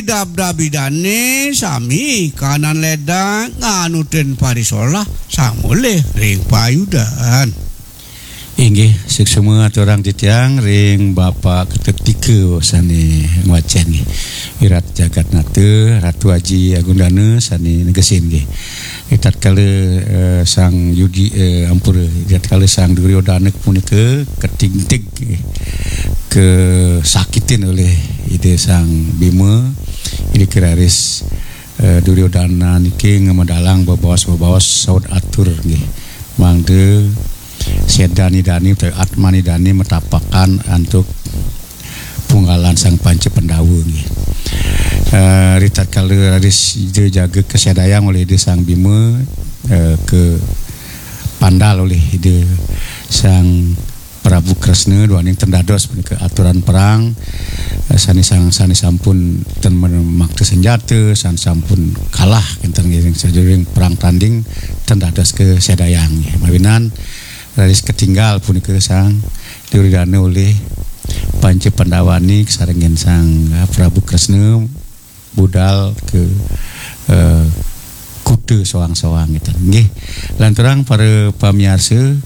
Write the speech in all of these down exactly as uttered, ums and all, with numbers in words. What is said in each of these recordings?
Dabdabidane sami kanan ledang nganutin parisolah samulih ring payudan. Inggih, suksma aturang titiang ring Bapak Ketut Tika sane ngwacen nggih. Wirat Jagatnata, Ratu Aji Agundana sane negesin nggih. Ri tatkala, eh, Sang Yudi, eh, ampura, ri tatkala Sang Duryodana punika katingtig nggih, kasakitin olih Ida Sang Bima, irika raris, eh, Duryodana niki ngamedalang bebaos-bebaos saut atur nggih. Mangda sedan idane utawi atman idane matapakan antuk punggalan Sang Panca Pandawa nggih. Eh, ri tatkala raris Ida jaga kasedayang olih Ida Sang Bima, eh, kapandal olih Ida Sang Prabu Kresna duaning ten dados punika aturan perang, eh, sane sang-, sane sampun ten men-, makta senjata, sane sampun kalah kenten ngiring sajeroning perang tanding ten dados kasedayang nggih. Mawinan raris katinggal punika Sang Duryodana olih Panca Pandawani kasarengin Sang, eh, Prabu Kresna budal ka, eh, kuta soang-soang gitu. Nggih, lanturang para pamiarsa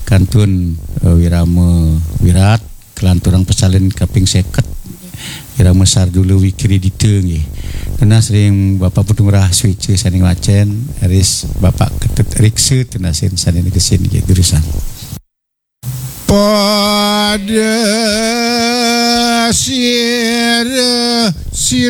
kantun, eh, wirama wirat, kalanturang pasalin kaping seket, wirama sardula wikridita nggih. Tunas ring Bapak Putu Ngurah Swica sane ngwacen, ris Bapak Ketut Riksa tunasin sane negesin nggih, durusang. Pada sira